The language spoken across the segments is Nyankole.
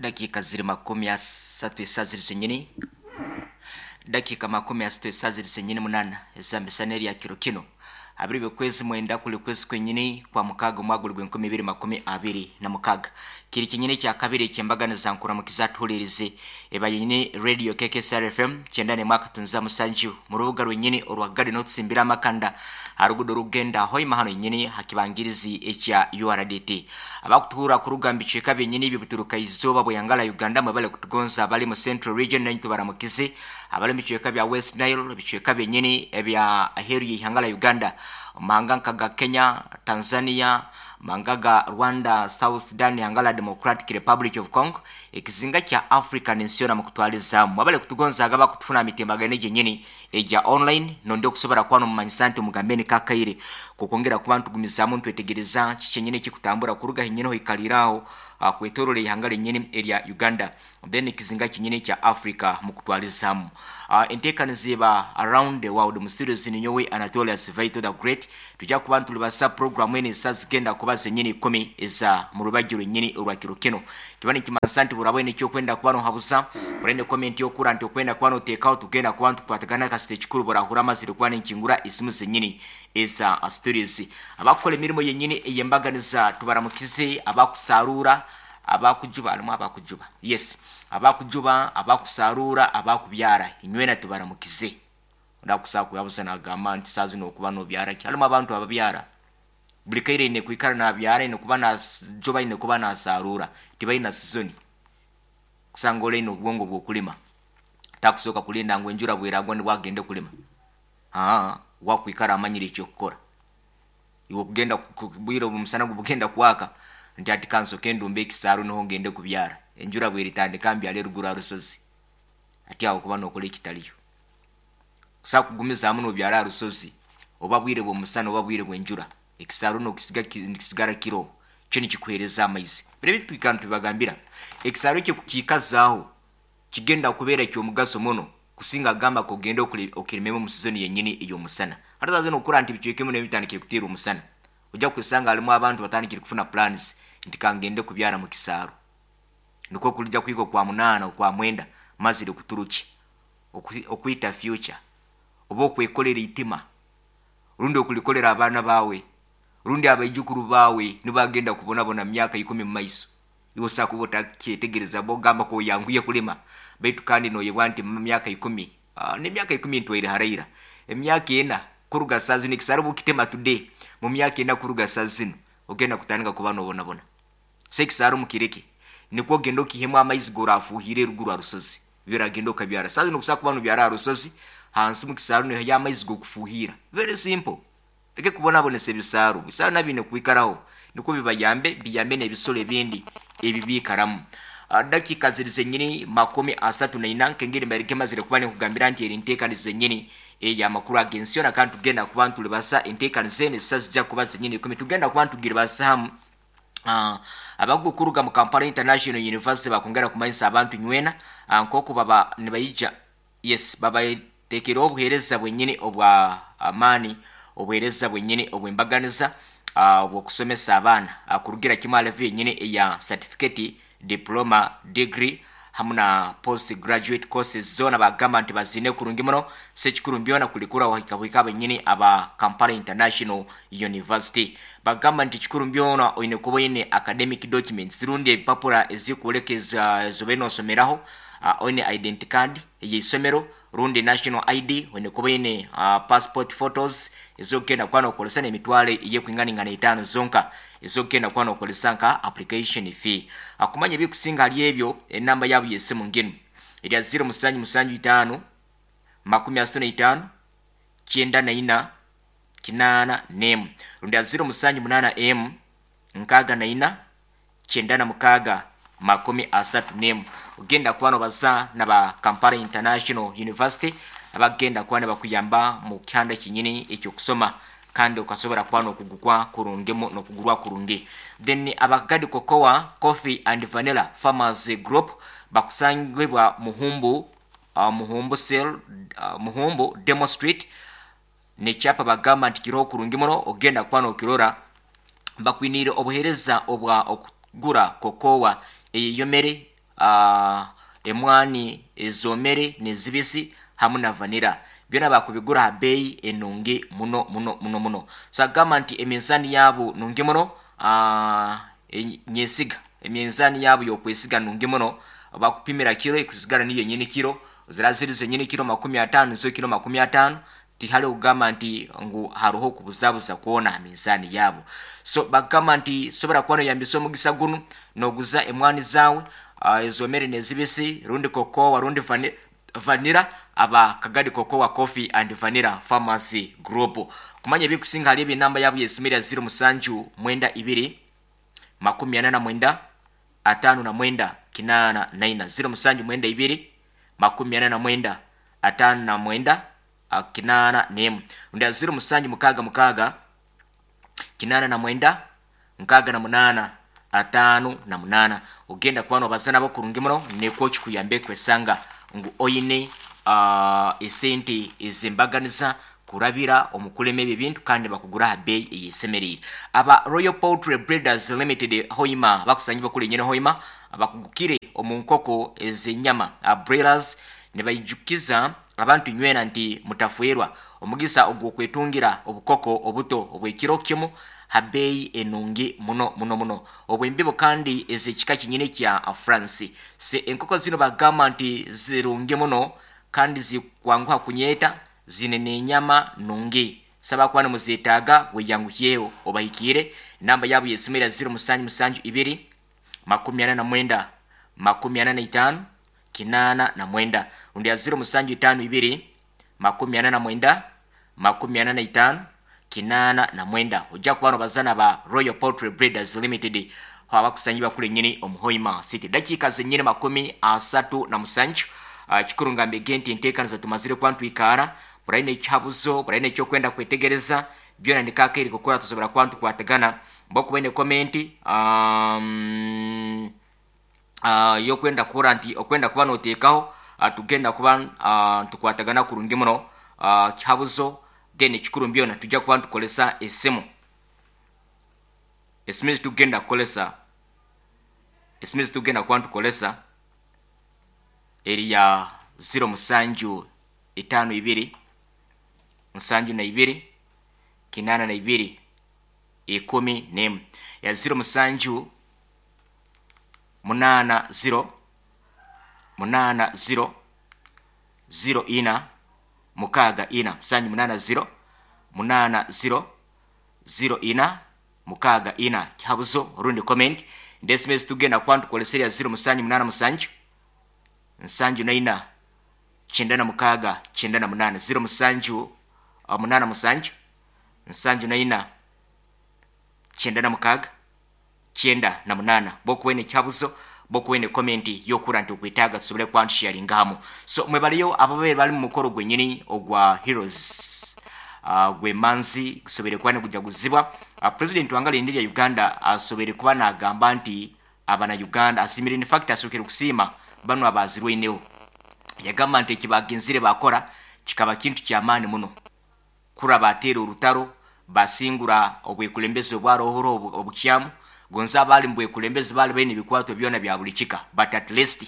Dakiika ziri 30 esaaha ziri zenyini dakiika 30 esaaha ziri zenyini 8 ez'amisana erya kiro kino abiri by'okwezi mwenda kuli kwezi kwenyini kwa mukaaga omwaka guli gw'enkumi ibiri 26. Kiri kyenyini ekyakabiri eky'embaganiza nkuramukiza atuhuliirize eba yenyini Radio KKSR FM 91.7 mu rubuga rwenyini orwa Garden otusimbira amakanda ha rugudo orukugenda Hoima hanu yenyini ha kibangirizi ekya URDT. Abakutuhurra kuruga mu bicweka byenyini eby'obuturuka izooba bw'eyangala Uganda mwebale kutugonza abali mu Central Region naitwe tubaramukize abali mu bicweka bya West Nile, ebicweka byenyini ebya aheeru y'eihanga lya Uganda, omu mahanga nka ga Kenya, Tanzania, amahanga ga Rwanda, South Sudan, ihanga lya Democratic Republic of Congo, ekizinga kya Africa n'ensi yoona mukutwalizaamu. Mwebale kutugonzaaga abakutufuna aha mitimbagano egi yenyini egya online nondi okusobora kuba nomumanyisa nti omugambe niko akaire kokwongera kuba nitugumizaamu nitwetegereza kiki kyenyini ekikutambura kuruga henyini hoikaliire aho kwetorora eihanga ryenyini erya Uganda then ekizinga kyenyini ekya Africa mukutwalizaamu. Enteekaniza eba Around the World mu studios ninyowe Anatolius Vital the Great. Twija kuba nitulibasa puroguramu enu esaaha zigenda kuba zenyini ikumi eza mu rubaju rwenyini orwa kiro kinu. Kiba nikimanyisa nti bw'oraba oine eky'okwenda kuba nohabuza, bw'oraba oine komenti y'okukura nti okwenda kuba noteekaho, tugenda kuba nitukwatagana kasita ekikuru bw'orahurra amazire kuba ninkingura esimu zenyini eza studios. Abakukora emirimo yenyini ey'embaganiza tubaramukize, abakusaaruura, abakujuba, harimu abakujuba? Yes, abakujuba, abakusaaruura, abakubyara, inywena tubaramukize. Ondi akusobola kuhabuza nagamba nti saaha zinu okuba nobyara ki? Harimu abantu ababyara buri kaire aine kwikara nabyara, aine kuba najuba, aine kuba nasaaruura, tibaine sizoni. Kusanga ori aine obwongo bw'okulima, takusooka kulinda ngu enjura bweragwa nibwo agende kulima. Haa, wakwikara amanyire eky'okukora. Iwe okugenda bwire obu omusana gubugenda kwaka nti hati kansoke ndumbe ekisaaru niho ngende kubyara. Enjura bweritandika mbyare eruguru aha rusozi. Hati aho okuba nokora ekitariyo. Kusobola kugumizaamu nobyara aha rusozi oba bwire bw'omusana oba bwire bw'enjura, ekisaaru nokisiga nikisigara kiroho, kyo nikikuheereza amaizi. Biro ebi twikara nitubibagambira, ekisaaru ekyo kukiikazaaho kigenda kubeera eky'omugaso muno kusinga kugamba ngu ogende okirimemu omu sizoni yenyini ey'omusana. Hati saaha zinu okukora nti ebicweka ebimwe nabyo bitandikire kuteerwa omusana, ojja kwesanga harimu abantu batandikire kufuna plans nti kangende kubyara mu kisaaru. Nikwo kurija kuhika Okwamunaana, Okwamwenda mazire kuturukye okwita future oba okwekorera eitima rundi okulikorera abaana baawe rundi abaijukuru baawe nibagenda kubonabona mu myaka ikumi mu maiso. Iwe osobola kuba otakyetegereza bw'ogamba ku oyanguhire kulima baitu kandi noyebwa nti mu myaka ikumi, n'emyaka ikumi ntwaire haraira, emyaka ena kuruga saaha zinu ekisaaru obu okitema today, mu myaka ena kuruga saaha zinu ogenda kutandika kuba nobonabona. So ekisaaru mukireke, nikwo ogende okiihemu amaizi g'orafuuhiire eruguru aha rusozi, biragenda okabyara. Saaha zinu okusobola kuba nobyara aha rusozi, hansi mu kisaaru noihayo amaizi g'okufuuhiira. Very simple. Leke kubonabonesa ebisaaru. Ebisaaru nabyo biine kwikaraho nikwo bibayambe, biyambe n'ebisoro ebindi ebi biikaramu. Dakiika ziri zenyini 34 nk'engeri mbaire nkemazire kuba ninkugambira nti eri nteekaniza zenyini ey'amakuru ag'ensi yoona kandi tugenda kuba nitulibasa enteekaniza enu esaaha zija kuba zenyini ikumi tugenda kuba nitugiribasa hamu. Abakugu kuruga mu Kampala International University bakwongera kumanyisa abantu nywena nk'oku baba nibaija yes babatekereho obuheereza bwenyini obwa amaani, obuheereza bwenyini obw'embaganiza obw'okusomesa abaana kurugira kimwe aha level yenyini eya certificate, diploma, degree hamu na post graduate courses zoona bagamba nti baziine kurungi muno. So ekikuru byona kuli kurora wahika buhika abenyini aba Kampala International University. Bagamba nti ekikuru byona oine kuba oine academic documents rundi ebipapura ezikwoleka ezobaire nosomeraho, oine identity card eyeisomero rundi national ID, oine kuba oine passport photos ezokugenda kuba nokozesa nemitwaro eyekwinganingana etaano zonka ezokugenda kuba nokozesa nka application fee. Kumanya ebikusinga ahari ebyo, enamba yaabo yesimu nginu erya ziro musanju musanju itaano, 35, 94, 81 rundi aha ziro musanju munaana emu, 64, 96, 31. Ogenda kuba nobaza na ba Kampala International University abakugenda kuba nibakuyamba mu kihanda kyenyini eky'okusoma kandi okasobora kuba nokugukwa kurungi nokugurwa kurungi. Then aba Kagadi Cocoa Coffee and Vanilla Farmers Group bakusangibwa Muhumbu, Muhumbu Cell, Muhumbu Demo Street n'ekyapa bagamba nti kiroho kurungi muno ogenda kuba nokirora. Bakwiniire obuheereza obwa okugura cocoa eyeyomere. Emwani ezomere nezibisi hamu na vanira byona bakubigura ha beeyi enungi muno muno muno muno. So agamba nti eminzaani yaabo nungi muno, nyesiga eminzaani yaabo y'okwesiga nungi muno, bakupimira kiro ekusigara niyo nyini kiro, zira ziri zenyini kiro 50 nizo kiro 50, tihariho kugamba nti ngu haroho okubuzabuza kwona ha minzaani yaabo. So bakugamba nti sobora kuba noyambisa omugisa gunu noguza emwani zaawe ezomere nezibisi rundi cocoa rundi vanilla aba Kagadi Cocoa Coffee and Vanilla Farmers Group. Kumanya ebikusinga hali ebi namba yaabo yesimu erya 0 musanju mwenda ibiri 49 59 84 0 musanju mwenda ibiri 49 59 81 rundi 0 musanju mukaaga mukaaga 89 68 58. Ogenda kuba nobaza nabo kurungi muno nekwo kikuyambe kwesanga ngu oine esente ezembaganiza kurabira omu kulema ebyo ebintu kandi bakugura aha beeyi eyesemereire. Aba Royal Poultry Breeders Limited Hoima bakusangibwa kuri enyine Hoima bakugukire omu nkoko ez'enyama broilers nibaijukiza abantu nywena nti mutafwerwa omugisa ogw'okwetungira obukoko obuto obw'ekiro kimu ha beeyi enungi muno muno muno obw'embibo kandi ez'ekika kinyine kya France. Se enkoko zino bagamba nti zirungi muno kandi zikwanguha kunyeeta, zine n'enyama nungi. Saba kuba nimuzetaaga weyanguhyeho obahikiire. Enamba yaabo y'esimu era 0 musanju musanju ibiri 49 45 89 rundi ya 0 musanju itaano ibiri 49 45 89. Ojja kuba nobaza na ba Royal Poultry Breeders Limited abakusangibwa kuri nyini omu Hoima City. Dakiika zenyini 37. Kikuru ngambege nti enteekaniza tumazire kuba ntwikaara buraine ekihabuzo buraine ekyokwenda kwetegereza byona nikakeeri kukora tusobora kuba ntukwatagana mbokuba ine komenti yokwenda kukora nti okwenda kuba noteekaho tugenda kuba ntukwatagana kurungi muno kihabuzo then ekikuru byona tujja kuba ntukoresa esimu esimu ezitugenda kukoresa esimu ezitugenda kuba ntukoresa eri ya 0 musanju itaano ibiri 72 82 11 ya 0 musanju 8 0 8 0 0 ina mukaaga ina musanju 8 0 8 0 0 ina mukaaga ina kihabuzo rundi comment ndesime tugenda kuba ntukoresa erya 0 musanju 8 musanju 74 96 98 0 musanju 8 musanju 74 96 98. Bokuwene ekihabuzo bokuwene komenti yokura nti okwetaaga tusobole kuba ntusharingahamu. So mwebaliyo ababeere bali mu mukoro gwenyini ogwa Heroes gwemanzi gusobere kuba nigujaguzibwa. President wanga lindi lya Uganda asobere kuba nagamba nti abana Uganda asimire, in fact asokere kusiima bano abazirweineho. Yagamba nti ekibagenzire bakora kikaba kintu kyamaani muno kura bateera orutaro basingura obwekulembezi obwarohoro obukyamu gonza abali mu bwekulembezi bali baine ebikwato byona bya buli kika, but at least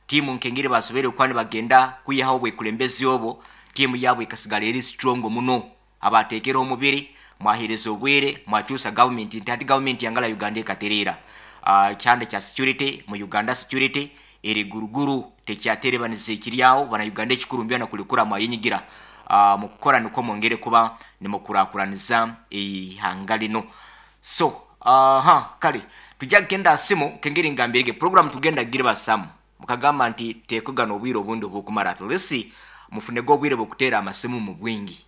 tiimu nkengeri basobere kuba nibagenda kwihaho obwekulembezi obwo, tiimu yaabo ekasigara eri strong muno. Abateekera omubiri mwahereza obwire mwakyusa gavumenti nti hati gavumenti yangala Uganda ekatereera. Kyanda kya security mu Uganda security eri guruguru tekyaterebaniza ekiryaho bana Uganda ekikuru mbyona kulikura mwayinyigira mukukora nikwo mwongere kuba nimukurakuraniza ihanga lino. So kale tujja kugenda simu kengeri ngambirege program tugenda gira basamu mukagamba nti tekugana obwire obundi obukumara at least mufunego obwire bwokutera amasimu mu bwingi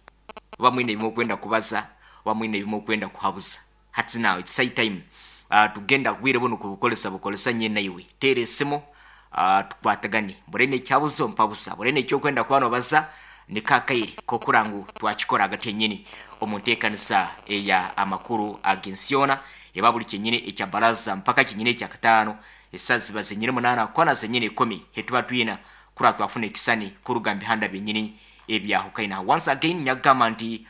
oba mwine ebimwe okwenda kubaza oba mwine ebimwe okwenda kuhabuza. Hati now it's high time tugenda bwire buno kubukolesa bukolesa nye naiwe tera esimu tukwatagane burene ekyabuzo mpabusa burene ekyokwenda kuba nobaza nikakaire kokurangu twakikora hagati yenyini omu nteekanisa eya amakuru ag'ensi yoona eba buli kyenyini ekya baraza mpaka kyenyini ekya kataano esaa ziba zenyini 8 kwana zenyini 10 hetuba twina kura twafuna ekisani kuruga mu bihanda byenyini ebyahukaina. Once again nyagamba nti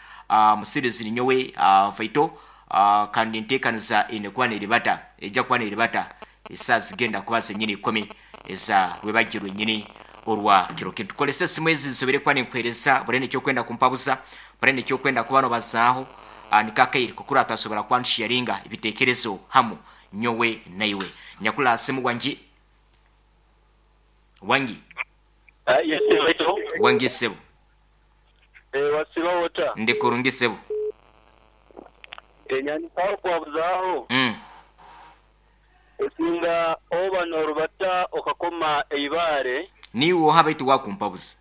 musirizi ninyowe Faito kandi nteekaniza ene kuba neribata ejja kuba neribata esaa zigenda kuba zenyini 10. eza rwebagyo rwenyini orwa kiro kinu. Tukorese esimu ezi nsobire kuba ninkuheereza buri n'ekyokwenda kumpabuza, buri n'ekyokwenda kuba nobazaaho, nikakaire kukura twasobora kuba nitusharinga ebitekerezo hamu nyowe naiwe. Nyakula simu wangi wangi. Yes baitu. Wangi sebo. Wasiba ota? Ndi kurungi sebo. Nyandikaho kwabuzaho. Osinga oba norubata okakoma eibaare. Niiwe oha baitu wakumpabuza?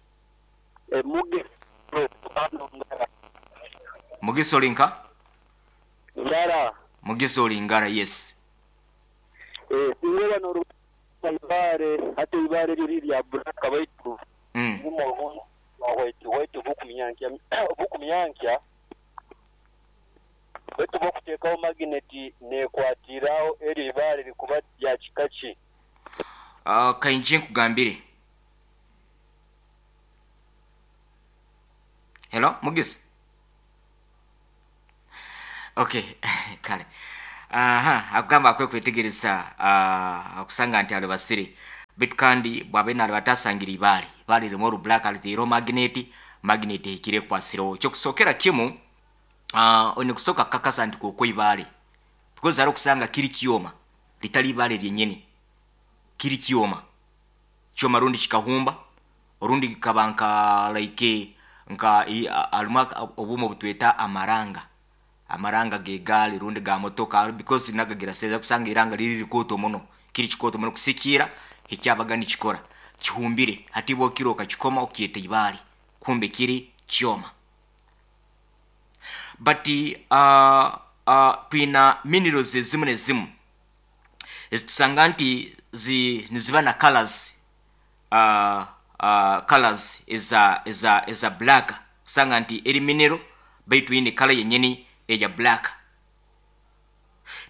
Mugisa oli nka? Ngara. Mugisa oli ngara, yes. Singa oba norubata eibaare, hati eibaare eryo riri rya black baitu ririmu obuntu bwa white white obukumyankya. Baitu bw'okuteekaho magineti neekwatira agho eryo ibaare likuba lya kika ki? Kainje nkugambire. Hello, Mugisa? Okay, kale. Aha, akugamba akwe kwetegereza akusanga nti alibasire. Baitu kandi bw'abaire nalibata asangire ibaare. Ibaare ririmu oru black aliteireho magineti, magineti ehikire ekwasireho. Eky'okusookera kimu, Oine kusooka kukakasa nti kwokwo ibaare because hariho okusanga kiri kyoma ritari ibaare ryenyini kiri kyoma, kyoma rundi kikahumba orundi kikaba nka like nka harimu obwoma obutweta amaranga, amaranga g'egaari rundi ga motoka because nagagira size okusanga eiranga riri rikooto muno kiri kikooto muno kusikiira ekyabaga nikikora kihumbire hati iwe okira okakikoma okyeta ibaare kumbe kiri kyoma. But twina minerals ezimu nezimu ezitusanga nti zi niziba na colours colours eza eza eza black kusanga nti eri mineral baitu eine colour yenyini eya black.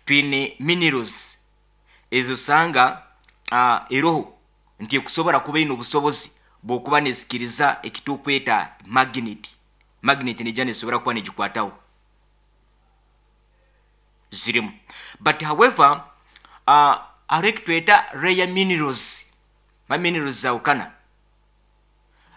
Twine minerals ezosanga eroho nti ekusobora kuba eine obusobozi bw'okuba nesikiriza ekitukweta magnet. Magnet neija nesobora kuba negikwataho zirimu but however hariho ekitweta rare minerals, ma minerals zahukana,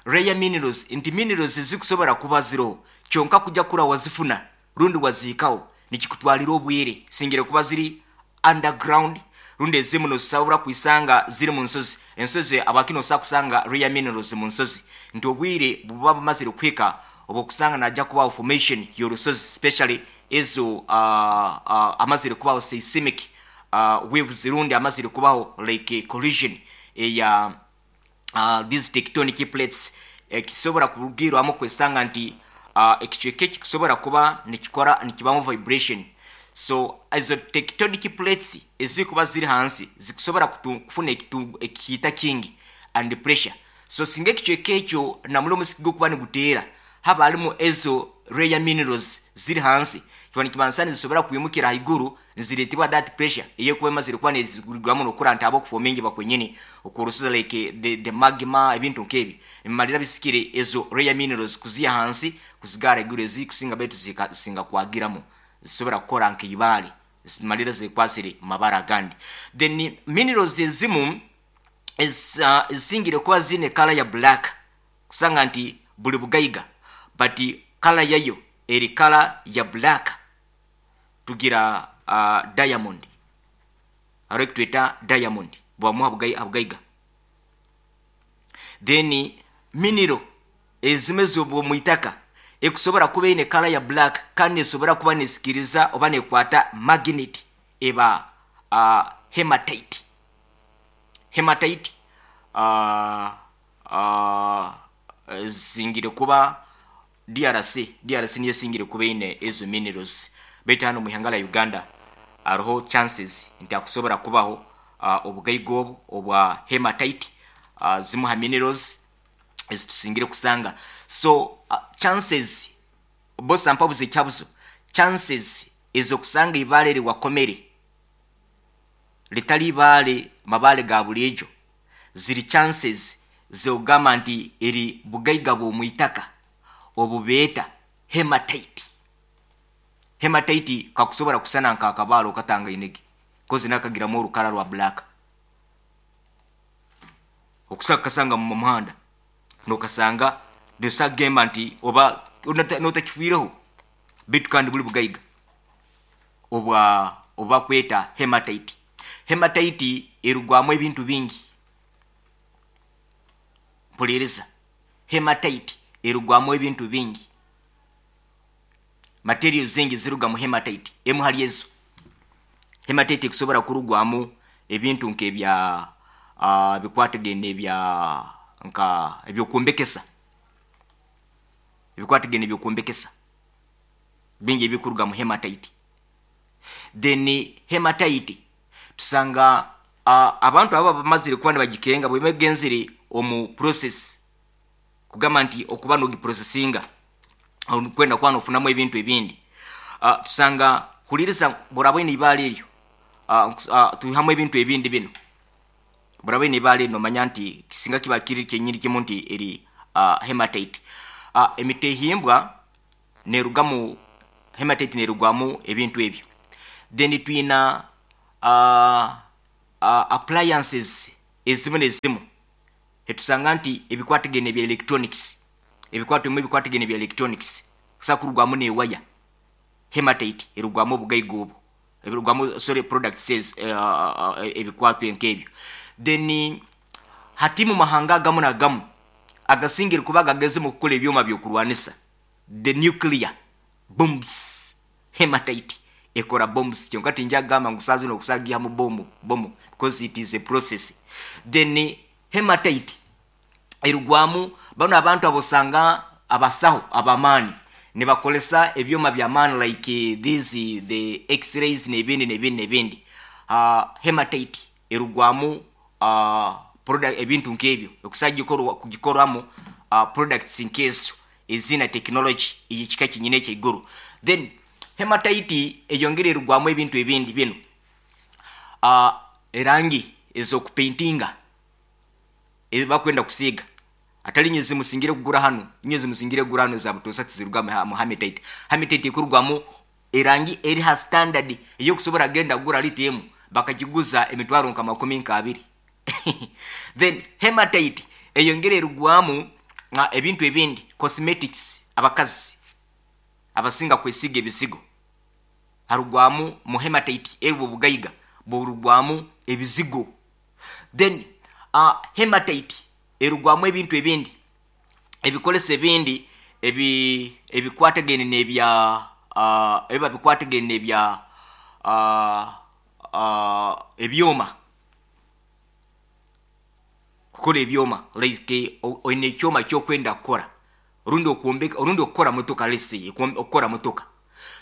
rare minerals nti minerals ezikusobora kuba ziroho kyonka kuja kura wazifuna rundi wazihikaho nikikutwarira obwire singire kuba ziri underground rundi ezimu nozisobora kwisanga ziri munsozi, ensozi habwaki nosobola kusanga rare minerals munsozi nti obwire buba bumazire kuhika obwokusanga naija kubaho formation yorusozi especially ezo amazire kubaho seismic waves rundi amazire kubaho like collision eya these tectonic plates ekisobora kurugirwamu kwesanga nti ekicweka eki kusobora kuba nikikora nikibamu vibration so ezo tectonic plates ezikuba ziri hansi zikusobora kufuna ekihiita kingi and pressure so singa ekicweka ekyo namuri omusiki gukuba niguteera haba harimu ezo rare minerals ziri hansi kiba nikibanisa nizisobora kwimukira ahaiguru nizireetibwa that pressure ey'ekuba emazire kuba nezigurwamu nokura nti ahabw'okufomingiba kwenyini okw'orusozi like the, the magma ebintu nk'ebi nibimarira bisikire ezo rare minerals kuziha ahansi kuzigaara ahaiguru ezikusinga baitu zika zisinga kwagiramu zisobora kukora nk'eibaare zimarira zekwasire mabara agandi then minerals ezimu ezisingire kuba ziine colour ya black kusanga nti buri bugaiga but colour yayo eri colour ya black tugira diamond hariho ekitweta diamond bubamu aha bugaiga then mineral ezimwe ez'omu itaka ekusobora kuba eine colour ya black kandi nesobora kuba nesikiriza oba nekwata magnet eba hematite hematite Ezisingire kuba DRC, DRC niyo esingire kuba eine ezo minerals baitu hanu omu ihanga rya Uganda hariho chances nti hakusobora kubaho obugaiga obu obwa hematite zimu ha minerals ezitusingire kusanga. So chances boss ampabuze ekihabuzo, chances ez'okusanga eibaare eri wakomere ritari ibaare mabaare ga buriijo ziri chances z'okugamba nti eri bugaiga bw'omwitaka obu beeta hematite. Hematite kakusobora kusana nk'akabaare okatangaine ge coz nakagiramu orukara rwa black. Okusobola kukasanga mu muhanda nokasanga nosobola kugamba nti oba notakifiireho beitu kandi buri bugaiga obwa obu bakweta hematite. Hematite erugwamu ebintu bingi. Mpuriiriza, hematite erugwamu ebintu bingi. Materials zingi ziruga mu hematite. Emwe ahari ezo, hematite ekusobora kurugwamu ebintu nk'ebya bikwatagaine n'ebya nka eby'okwombekesa, ebikwatagaine n'eby'okwombekesa bingi ebikuruga mu hematite. Then hematite tusanga abantu abo abamazire kuba nibagikenga bweba egenzire omu process kugamba nti okuba nogiprosesinga kwenda kuba nofunamu ebintu ebindi tusanga huririza bworaba oine eibaare eryo twihamu ebintu ebindi binu bworaba oine eibaare eryo nomanya nti singa kiba kiri kyenyini kimu nti eri hematite. Emitehimbwa nerugamu hematite nerugwamu ebintu ebyo. Then twina appliances ezimu nezimu etusanga nti ebikwatagaine ebya electronics, ebikwato ebimwe ebikwatagaine ebya electronics kusobola kurugwamu n'ewaya, hematite erugwamu obugaiga obwo, erugwamu sorry products ezo ebikwato nk'ebyo. Then hati mu mahanga agamu nagamu agasingire kuba gagezi mu kukora ebyoma by'okurwanisa, the nuclear bombs, hematite ekora bombs kyonka tingya kugamba ngu saaha zinu okusobola kugihamu bomu bomu because it is a process. Then hematite erugwamu banu abantu abosanga abasaho ab'amaani nibakoresa ebyoma by'amaani like these the x-rays n'ebindi n'ebindi n'ebindi. Hematite erugwamu product ebintu nk'ebyo okusobola kugikoramu products nk'ezo eziine tekinologi ey'ekika kyenyini eky'eiguru. Then hematite eyongera erugwamu ebintu ebindi binu, erangi ez'okupaintinga ezi barikwenda kusiiga atari inywe ezimusingire kugura hanu, inywe ezimusingire kugura hanu eza butoosha tiziruga mu hematite. Hematite ekurugwamu erangi eri ha standard ey'okusobora kugenda kugura liita emwe bakagiguza emitwaro nka makumi nk'abiri. Then hematite eyongera erugwamu ebintu ebindi, cosmetics, abakazi abasinga kwesiiga ebizigo, harugwamu mu hematite ebwo obugaiga burugwamu ebizigo. Then hematite erugwamu ebintu ebindi, ebikoreso ebindi ebi ebikwatagaine n'ebya ebiba bikwatagaine n'ebya ebyoma, kukora ebyoma like oine ekyoma ky'okwenda kukora rundi okwombeka rundi okukora motoka let's say okukora motoka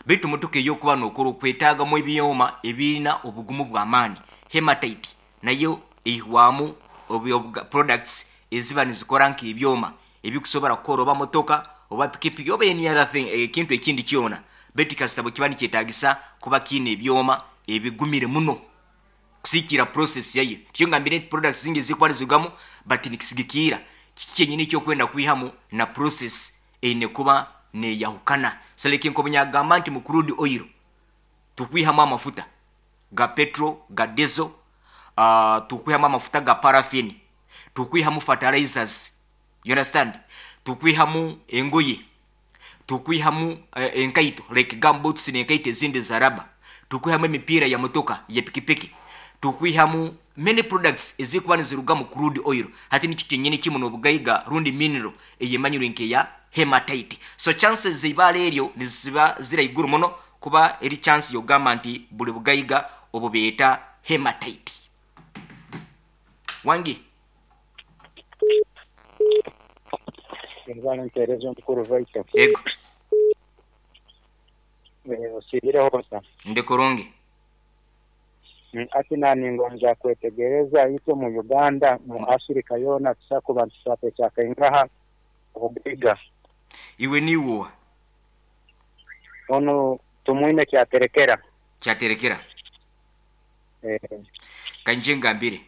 beitu motoka ei orikuba nookora okwetaagamu ebyoma ebiine obugumu bw'amaani. Hematite nayo eihwamu products eziba nizikora nk'ebyoma ebikusobora kukora oba motoka oba pikipiki oba any other thing ekintu ekindi kyona beitu kasita bwekiba nikyetagisa kuba kiine ebyoma ebigumire muno kusigikiira process yayo. Nikyo ngambire nti products zingi ezirikuba nizirugamu but nikisigikiira kiki kyenyini eki orikwenda kwihamu na process eine kuba neyahukana. So like nkobu nyagamba nti mu crude oil tukwihamu amafuta ga petrol, ga diesel, tukwihamu amafuta ga paraffin, tukwihamu fertilizers, you understand, tukwihamu engoye, tukwihamu enkaito like gum boots n'enkaito ezindi eza raba, tukwihamu emipiira ya motoka, ya pikipiki, tukwihamu many products ezirikuba niziruga mu crude oil. Hati nikyo kyenyini kimu n'obugaiga rundi mineral eyemanyirwe nk'eya hematite. So chances z'eibaare eryo niziba ziri ahaiguru muno kuba eri chance y'okugamba nti buri bugaiga obu beeta hematite. Wangi. Webale mpereza omukuru Vital. Ego. Osiibireho ota? Ndi kurungi. Hati naningonza kwetegereza itwe omu Uganda, mu Africa yoona tusobola kuba nitukwata ekyakaingaha obugaiga. Iwe niiwe oha? Onu Tumwine Kyaterekera. Kyaterekera? Ka nyije ngambire.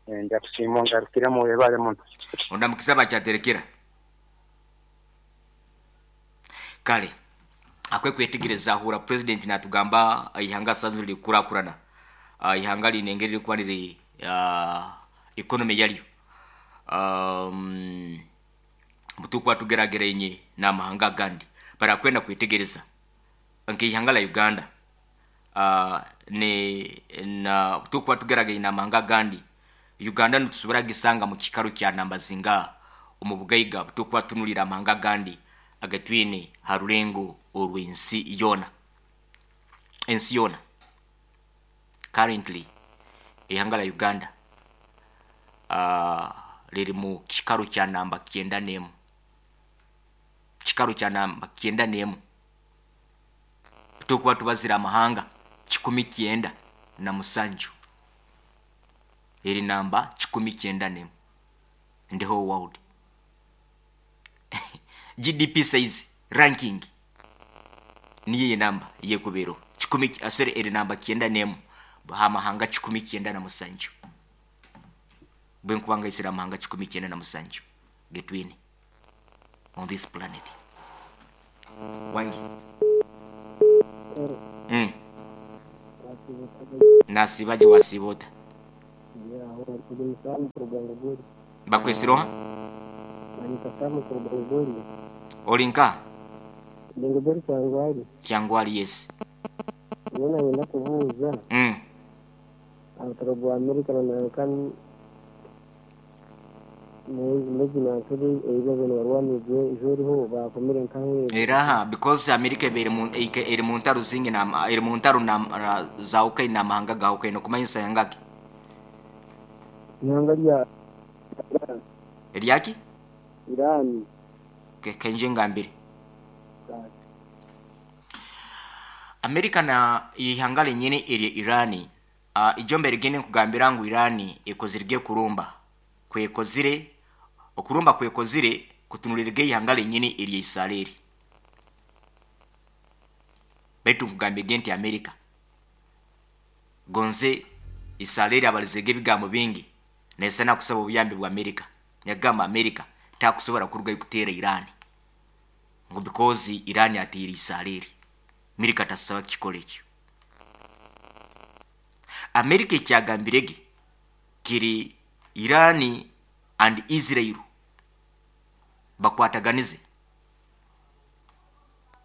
Nja kusiima ongarukiremu webale muno. Ondamukize aba Kyaterekera. Kale akwe kwetegereza ahura president natugamba eihanga saha zinu riri kukurakurana. Eihanga riine engeri ririkuba riri. economy yaryo um, butukuba tugerageraine n'amahanga agandi barakwenda kwetegereza nk'ihanga la Uganda ne na tukuba tugerageraine n'amahanga agandi Uganda nitusobora gisanga mu kikaro kya namba zinga omu bugaiga butukuba tunulira amahanga agandi agatwine ha rurengo orw'ensi yoona ensi yoona currently ihanga la Uganda riri mu kikaro kya namba 91 kikaro kya namba 91 tukuba tubazira amahanga 97 eri namba 91 in the whole world. GDP size ranking niyo namba yekubero kikumi asore eri namba 91 hamahanga 97 bwenkubanga isira amahanga 97 getwini on this planet wangi nasibaje wasibota bakwesiroha olinka Kyangwali yes ngenda kubuuza abataro gwa Amerika na Marekani eraha because America eri mu ntaro zingi na eri mu ntaro na za Ukraine na mahanga ga Ukraine kumanyisa yangaki ihanga rya eryaki Iran kenje ngambire Amerika na ihanga lenyene eri Irani ijombe rigene kugambira ngu Irani ekozirge kurumba kwekozire okurumba kwekozire kutunulirge ihanga lenyene eri Israeli betu kugambye nti Amerika gonze Israeli abalizege bigambo bingi nesana kusaba obuyambi bwa Amerika nyagamba Amerika takusobora kuruga kutera Irani ngo because Irani atira Israeli Amerika tasaba kikole ekyo Amerika ekyagambirege kiri Irani and Israel bakwataganize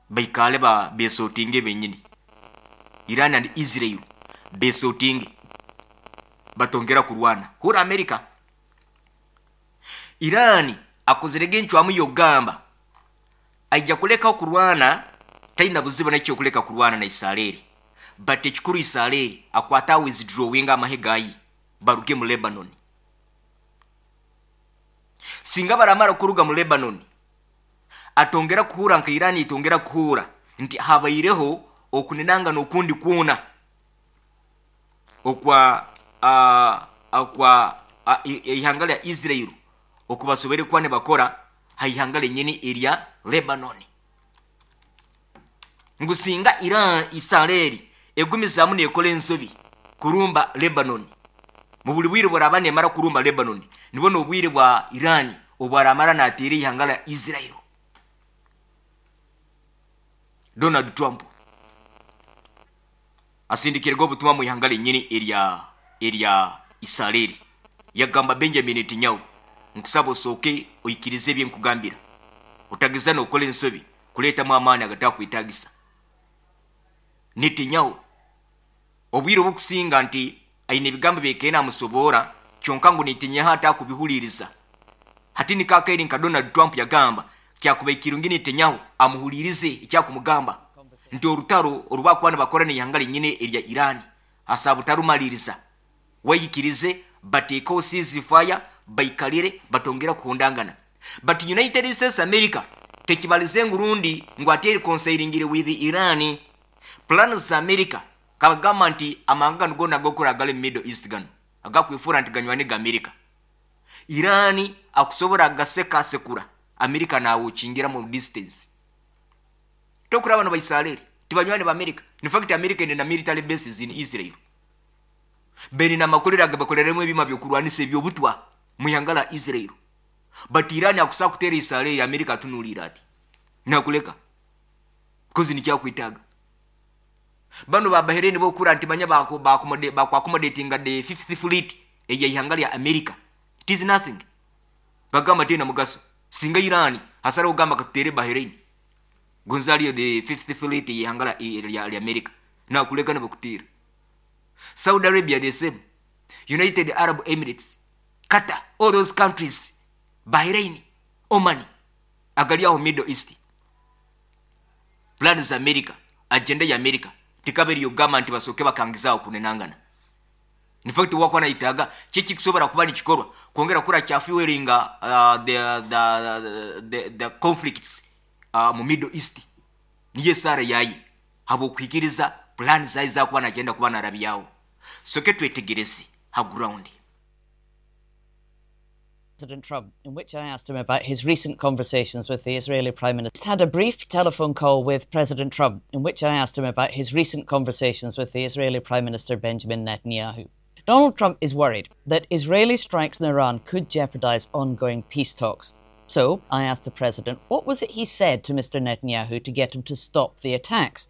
baikale ba besotinge benyini Iran and Israel besotinge batongera kurwana hura Amerika Irani akozerege encwamu yogamba aija kuleka kurwana taina buzibu nakyo kuleka kurwana na Israeli but ekikuru Israeli akwata withdrawing amahe gayi baruge mu Lebanon singa baramara kuruga mu Lebanon atongera kuhura nka Irani itongera kuhura nti habaireho okunenanga nokundi kuona okwa akwa ihanga lya Israel okubasobere kwa ne bakora haihanga lenyene erya Lebanon ngusinga Iran Israeli egumizamu nekola ensobi kurumba Lebanon mu buli bwire burabane mara kurumba Lebanon nibona obwire bwa Iran obwaramara natiri ihanga la Israel Donald Trump asindikirwa obutumwa mu ihanga lenyene erya Israeli yagamba Benjamin Netanyahu nkusaba osooke oyikirize ebyenkugambira otageza nokola ensobi kuleetamu amaani agatakwetagisa Netanyahu obwire obukusinga nti aine ebigambo byekene amusoboora kyonka ngu Netanyahu atakubihuliriza hati nikakairi nka Donald Trump yagamba kyakuba ekirungi Netanyahu amuhulirize ekyakumugamba nti orutaro orubakuba nibakora n'ihanga lenyine erya Iran asaba utarumaliriza wayikirize bateekaho ceasefire baikalire batongera kuhondangana but United States America tekibalize ngurundi ngu ati reconciling with Iran plans za America kabagamba nti amahanga gano gona agokora gale Middle East gano agakwifura nti ganywani ga America Iran akusobora agaseka sekura America nawo kingira mu distance tokura bano baisraeli tibanywani ba America in fact America ina military bases in Israel beni na makolera agabakoleremu ebima byokurwanisa ebyobutwa mu ihanga la Israel but Iran akusa kutera Israel America tunulira ati nakuleka kozi nikyakwitaga bano ba Bahrain bokura nti manya bako ba accommodating the fifth fleet eya ihanga lya America It is nothing. Bagamba teine mugaso. Singa Iran asaraho kugamba katuteere Bahrain. Gonze hariyo the fifth fleet y'eihanga rya America. Nakureka nibakuteera. Saudi Arabia the same. United Arab Emirates, Qatar, all those countries, Bahrain, Oman, agari aho Middle East. Plan za America, agenda ya America tekaba eri y'okugamba nti basooke bakangize aho kunenangana. In fact wakuba nayetaaga ki ekikusobora kuba nikikorwa kwongera kukora kya fuelinga the, the, the, the conflicts mu Middle East. Niyo esaara yaye habw'okuhikiriza plan zaye ezakuba nagyenda kuba narabyaho. Soke twetegereze ha ground. President Trump, in which I asked him about his recent conversations with the Israeli Prime Minister. Had a brief telephone call with President Trump, in which I asked him about his recent conversations with the Israeli Prime Minister Benjamin Netanyahu. Donald Trump is worried that Israeli strikes in Iran could jeopardize ongoing peace talks. So I asked the president, what was it he said to Mr. Netanyahu to get him to stop the attacks?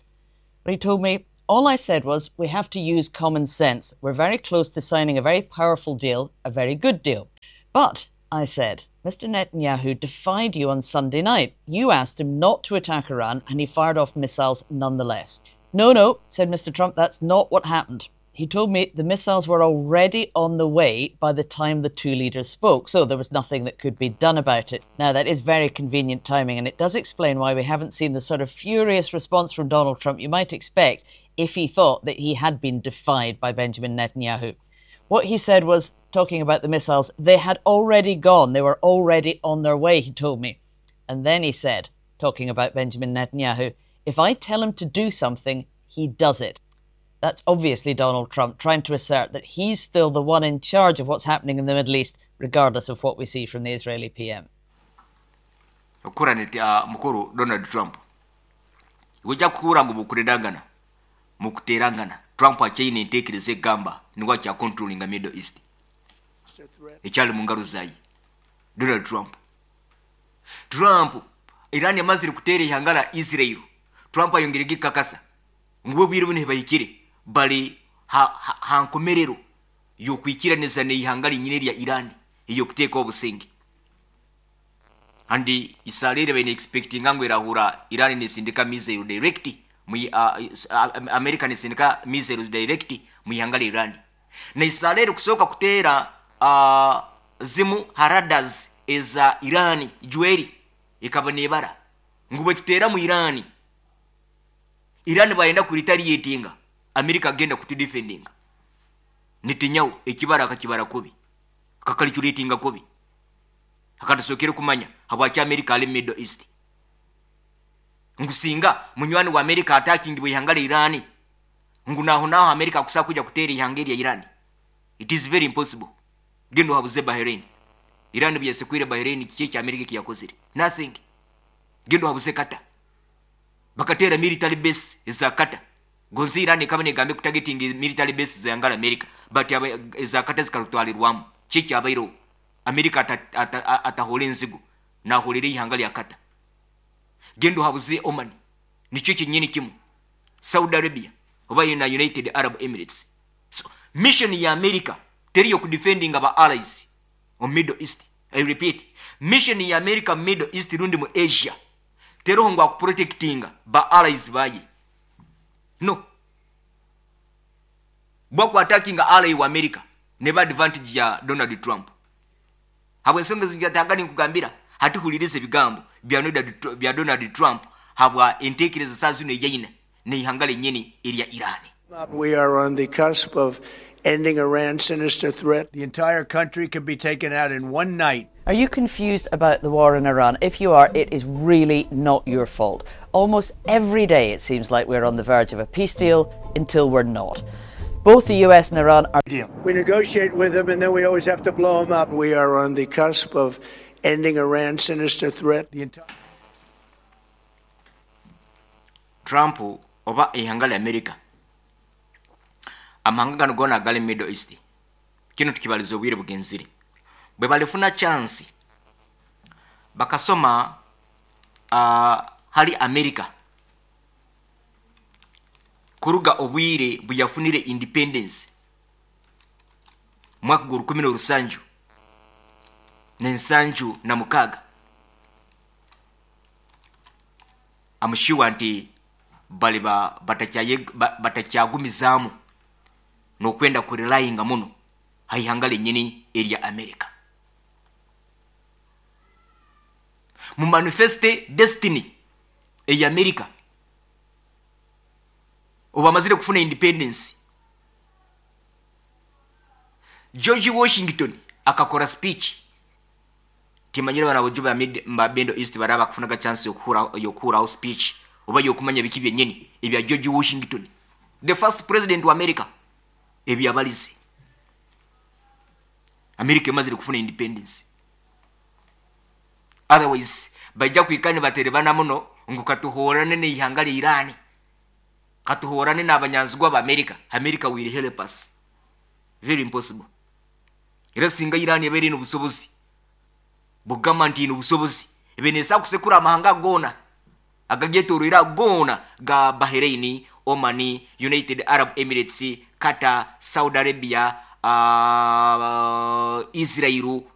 But he told me, all I said was, we have to use common sense. We're very close to signing a very powerful deal, a very good deal. But, I said, Mr. Netanyahu defied you on Sunday night. You asked him not to attack Iran, and he fired off missiles nonetheless. No, no, said Mr. Trump, that's not what happened. He told me the missiles were already on the way by the time the two leaders spoke, so there was nothing that could be done about it. Now, that is very convenient timing, and it does explain why we haven't seen the sort of furious response from Donald Trump you might expect if he thought that he had been defied by Benjamin Netanyahu. What he said was, talking about the missiles, they had already gone. They were already on their way, he told me. And then he said, talking about Benjamin Netanyahu, if I tell him to do something, he does it. That's obviously Donald Trump trying to assert that he's still the one in charge of what's happening in the Middle East, regardless of what we see from the Israeli PM. Okukura mukuru Donald Trump. Iwe ekyakukuhurra ngu mukurendangana, mukuteerangana, Trump akyaine enteekereza ekugamba nigwo akya controllinga Middle East. Ekyari mungaro zaye. Donald Trump. Trump, Iran emazire kuteera eihanga ra Israel, Trump ayongiire gikakasa ngu bo obwire obu nibahikire bari ha nkomerero y'okwikiraniza n'eihanga rinyine erya Iran ey'okuteekaho obusingye. And isaara eri baine expectinga ngu erahura Iran nesindika missiles direct mu America nesindika missiles direct mu ihanga rya Iran. Na isaara eri kusooka kuteera zimu ha radars eza Iran jweri ekaba nebara ngu bwetuteera mu Iran, Iran bayenda ku retaliatinga America agenda kutu defendinga. Netanyahu ekibara akakibara kubi, akakaliculatinga kubi. Akatusookere kumanya habwaki America ari mu Middle East. Ngu singa munywani wa America atakingibwa eihanga rya Iran, ngu naho naho America akusobola kwija kuteera eihanga erya Iran. It is very impossible. Genda ohabuze Bahrain. Iran obuyasekwire Bahrain kiki eki America ekiyakozire? Nothing. Genda ohabuze Qatar. Bakateera military base eza Qatar. Gonzi Iran ekaba negamba ekutagetinga military base za ihanga rya America, but eza Qatar zikarutwarirwamu. Kiki ekyabaireho? America atahoore enzigu, nahoorera eihanga rya Qatar. Genda ohabuze Oman, nikyo kyenyini kimwe. Saudi Arabia oba na United Arab Emirates. So, mission ya America teri y'okudefendinga ba allies omu Middle East. I repeat, mission ya America mu Middle East rundi mu Asia teriho ngu akuprotectinga ba allies baye. No. Bwaku attackinga ally wa America neba advantage ya Donald Trump. Habw'ensonga ezi ngyetaaga ninkugambira hati huliriza ebigambo bya Donald Trump habwa entekereza saaha zinu ei aine n'eihanga ryenyini erya Iran. We are on the cusp of ending Iran's sinister threat. The entire country can be taken out in one night. Are you confused about the war in Iran? If you are, it is really not your fault. Almost every day it seems like we're on the verge of a peace deal until we're not. Both the US and Iran are... Deal. We negotiate with them and then we always have to blow them up. We are on the cusp of ending Iran's sinister threat. The entire... Trump oba eihanga rya America amahanga ganu goona agali mu Middle East kinu tukibaliza obwire bugenzire bwebalifuna chance bakasoma hali America kuruga obwire buyafunire independence mwaka gwa rukumi n'orusanju Nensanju na mukaaga. Am sure nti baliba batakyagumizaamu n'okwenda kurelyinga muno ha ihanga lyenyini erya America. Mu manifeste destiny eya America obu bamazire kufuna independence, George Washington akakora speech. Timanyire bana bojo ba mid ba Middle East baraba kufunaga chance yokuhuraho speech oba yokumanya biki byenyini ebya George Washington, the first president wa America, ebyabalize America emazire kufuna independence. Otherwise baija kwikara nibaterebana muno ngu katuhorane n'eihanga lya Iran, katuhorane n'abanyanzigwa ba America, America will help us. Very impossible. Era singa Iran ebaire eine obusobozi bugamba nti ine obusobozi ebe neesobola kusekura amahanga goona agagyetoroire ago goona ga Bahrain, Oman, United Arab Emirates, Qatar, Saudi Arabia, Israel.